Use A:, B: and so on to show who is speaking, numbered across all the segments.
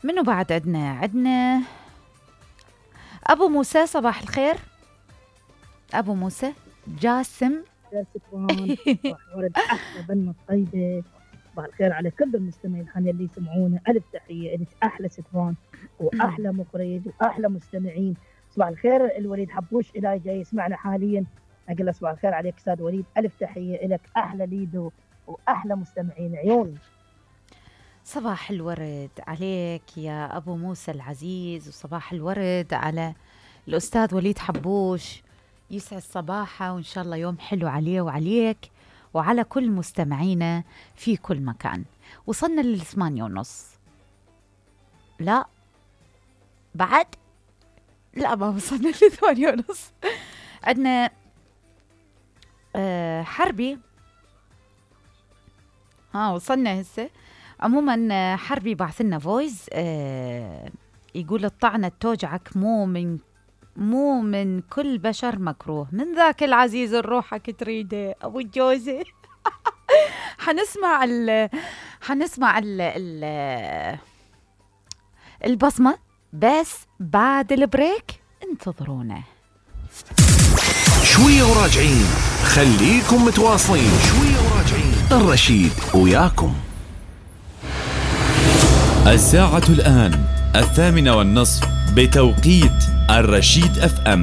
A: منو بعد عندنا أبو موسى. صباح الخير أبو موسى. جاسم.
B: ستوان صباح ورد، أحلى بنت طيبة. صباح الخير على كل المستمعين الحين اللي يسمعونا، ألف تحية لك أحلى ستوان وأحلى مخرج وأحلى مستمعين. صباح الخير الوليد حبوش إلهي جاي يسمعنا حاليا، أقول له صباح الخير عليك أستاذ وليد، ألف تحية لك أحلى ليدو وأحلى مستمعين عيوني.
A: صباح الورد عليك يا أبو موسى العزيز، وصباح الورد على الأستاذ وليد حبوش، يسعد صباحه وإن شاء الله يوم حلو عليه وعليك وعلى كل مستمعينا في كل مكان. وصلنا لل8:30. لا بعد لا ما وصلنا ل8:30. عندنا حربي. وصلنا هسه. عموما حربي بعث لنا فويس يقول الطعنة توجعك مو من كل بشر مكروه، من ذاك العزيز الروحك تريده أبو الجوزة. حنسمع البصمة بس بعد البريك، انتظرونا
C: شوية وراجعين. خليكم متواصلين، شوية وراجعين. الرشيد وياكم.
D: الساعة الآن 8:30 بتوقيت الرشيد FM.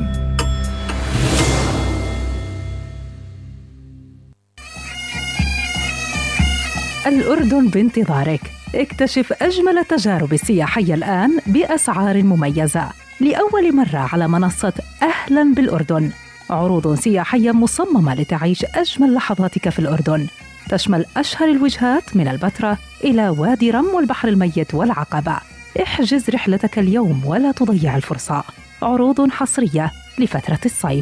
E: الأردن بانتظارك. اكتشف أجمل التجارب السياحية الآن بأسعار مميزة لأول مرة على منصة أهلاً بالأردن. عروض سياحية مصممة لتعيش أجمل لحظاتك في الأردن، تشمل أشهر الوجهات من البتراء إلى وادي رم والبحر الميت والعقبة. احجز رحلتك اليوم ولا تضيع الفرصة. عروض حصرية لفترة الصيف.